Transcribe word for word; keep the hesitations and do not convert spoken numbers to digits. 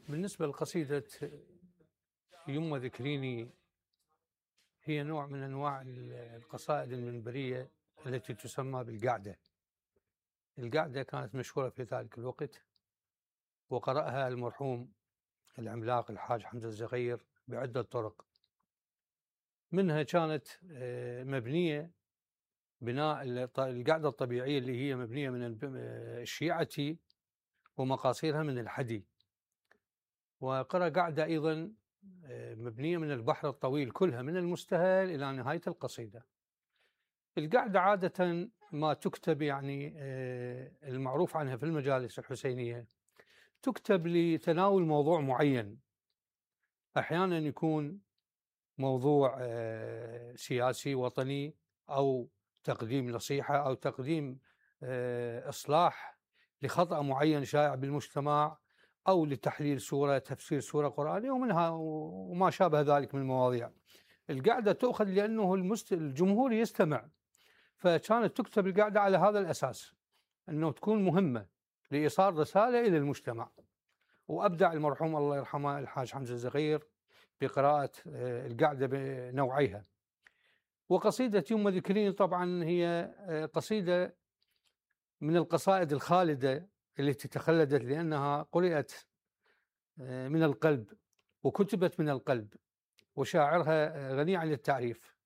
بالنسبة لقصيدة يمه ذكريني، هي نوع من أنواع القصائد المنبرية التي تسمى بالقعدة. القعدة كانت مشهورة في ذلك الوقت، وقرأها المرحوم العملاق الحاج حمزة الزغير بعدة طرق، منها كانت مبنية بناء القعدة الطبيعية اللي هي مبنية من الشيعة ومقاصيرها من الحدي، وقرأ قعدة أيضا مبنية من البحر الطويل كلها من المستهل إلى نهاية القصيدة. القعدة عادة ما تكتب، يعني المعروف عنها في المجالس الحسينية، تكتب لتناول موضوع معين، أحيانا يكون موضوع سياسي وطني، أو تقديم نصيحة، أو تقديم إصلاح لخطأ معين شائع بالمجتمع، أو لتحليل سورة، تفسير سورة قرآنية ومنها وما شابه ذلك من المواضيع. القعدة تؤخذ لأنه الجمهور يستمع، فكانت تكتب القعدة على هذا الأساس، أنه تكون مهمة لإيصال رسالة إلى المجتمع. وأبدع المرحوم الله يرحمه الحاج حمزة الزغير بقراءة القعدة بنوعيها. وقصيدة يمه ذكريني طبعا هي قصيدة من القصائد الخالدة التي تخلدت، لأنها قرأت من القلب وكتبت من القلب، وشاعرها غني عن التعريف.